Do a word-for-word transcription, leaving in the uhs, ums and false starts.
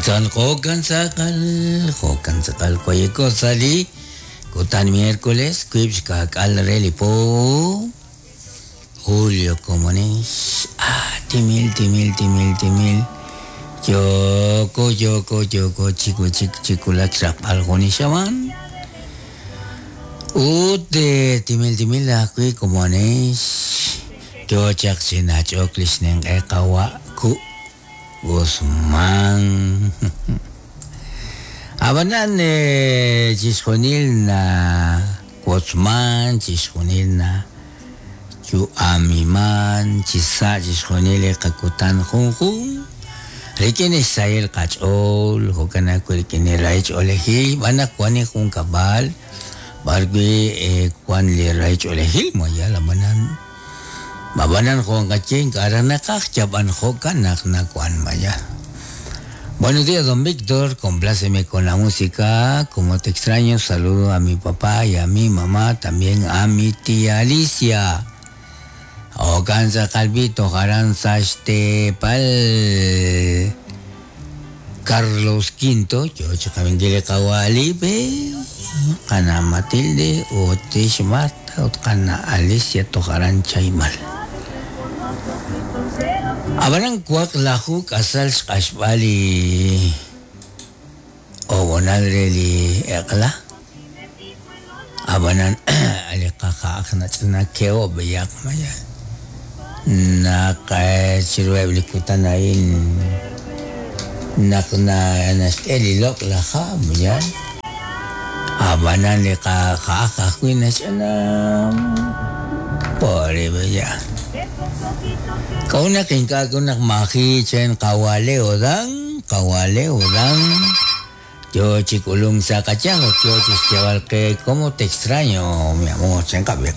Jokan jokan sakal jokan sakal koyeko sali kutan miércoles kuib xkak'al re li po julio komonex ah timil timil timil timil yoko yoko yoko chiku chik chikulak xraqb'al jun ixaman ut timil timil ajwi' komonex yo chaq chinach'ok li xninq'e qawa' ku' Guzmán. Abanan chixjunil na wotzman, chixjunil na yu'amiman, chisa' chixjunil li qakutan junjun. Rik'in xsahil qach'ool, jo'kan ajwi' rik'in li rahich'oolejil, b'an naq wan li junkab'al, b'arwi' wan li rahich'oolejil mayal abanan. Babanan jo'kan k'aranaqaj yab'an jo'kan naq nawan mayal. Buenos días, don Víctor, compláceme con la música, como te extraño, saludo a mi papá y a mi mamá, también a mi tía Alicia. Okansa Calvito, Jaranza Pal Carlos Quinto, yo chakabengile Kawalipe, Kana Matilde, Otish Marta, Otkana Alicia Tojaran Chaymal. Abanan kuak lahu kasal xq'axb'ali obonal re li eq'la abanan ali qaja'aj nach'ana keo b'eyaq maya naq chiruheb' li kutan a'in naq na naxk'e li loq' laj ha' maya abanan li qaja'aj ajwi' nach'ana pobre b'eya. Kauna kinka kunak mahi chen kawale odang, kawale odang. Yo chikulung sa kachango, yo chischabal que cómo te extraño, mi amor, chen kabia.